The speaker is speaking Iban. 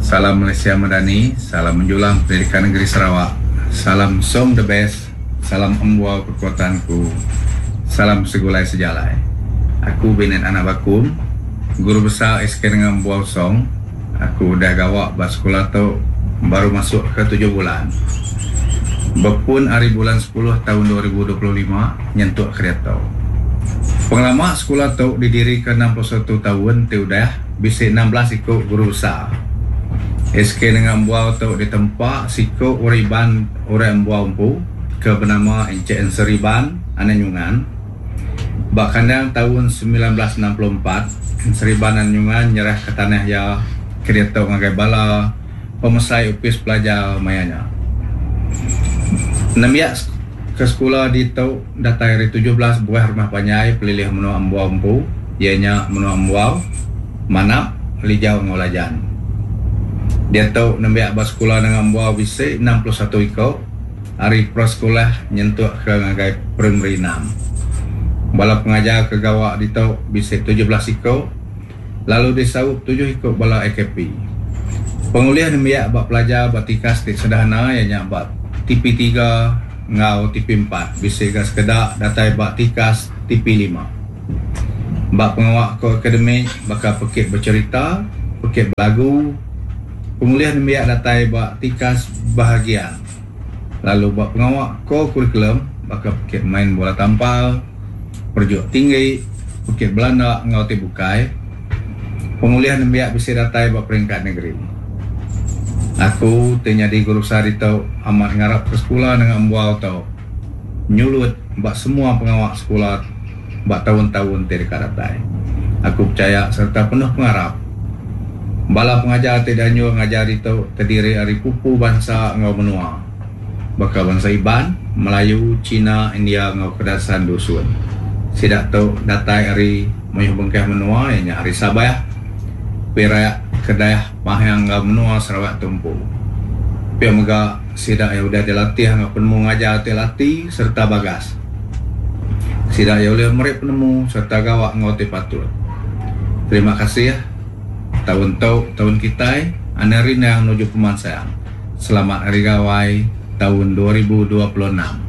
Salam Malaysia Madani, salam menjulang pendidikan negeri Sarawak, salam Song the best, salam Embuau kekuatanku, salam segulai sejalai. Aku Binet Anak Bakum, Guru Besar SK Nengah Embuau Song. Aku udah gawa ba sekula tu baru masuk ke tujuh bulan. Bepun ari bulan sepuluh taun 2025 nyentuk ke diatu. Pengelama sekula tu didirika 61 taun ti udah bisi 16 iku guru besar. SK Nengah Embuau tu ditempa siku orang Iban orang Embuau empu ke benama Encik Enseri Ban Anak Nyungan. Ba kandang taun 1964, Enseri Ban Anak Nyungan nyerahka tanah iya ke diatu ngagai bala pemesai opis pelajar maya nya. Nembiak ke sekula ditu datai ari 17 buah rumah panjai pelilih menua Embuau empu iya nya menua Embuau, Manap, Lijau enggau Lajan. Diatu nembiak ba sekula Nanga Embuau bisi 61 iku ari prasekolah nyentuk ke ngagai primari enam. Bala pengajar ke gawa ditu bisi 17 iku lalu disaup tujuh iku bala AKP. Pengulih nembiak ba pelajar ba tikas ti sederhana iya nya ba TP tiga enggau TP empat bisi ga sekeda datai ba tikas TP lima. Ba pengawa ko akademik baka pekit becherita, pekit belagu, pengulih nembiak datai ba tikas bahagian lalu ba pengawa ko-kurikulum baka pekit main bola tampar, perejuk tinggi, pekit belanda enggau ti bukai, pengulih nembiak bisi datai ba peringkat negeri. Aku ti nyadi guru besar ditu amat ngarapka sekula nengah embuau tu nyulut ba semua pengawa sekula ba taun-taun ti deka datai. Aku pechaya sereta penuh pengarap bala pengajar ti dianjur ngajar ditu terdiri ari pupu bansa enggau menua. Baka bansa Iban, Melayu, China, India enggau Kedasan Dusun. Sida tu datai ari mayuh bengkah menua iya nya ari Sabah, Perak, Kedah, Pahang enggau menua Sarawak tu empu. Pia mega sida iya udah dilatih enggau penemu ngajar ti lati sereta bagas. Sida iya ulih meri penemu sereta gawa enggau ti patut. Terima kasih. Taun tu taun kitai anang rindang nuju pemansang. Selamat Hari Gawai taun 2026.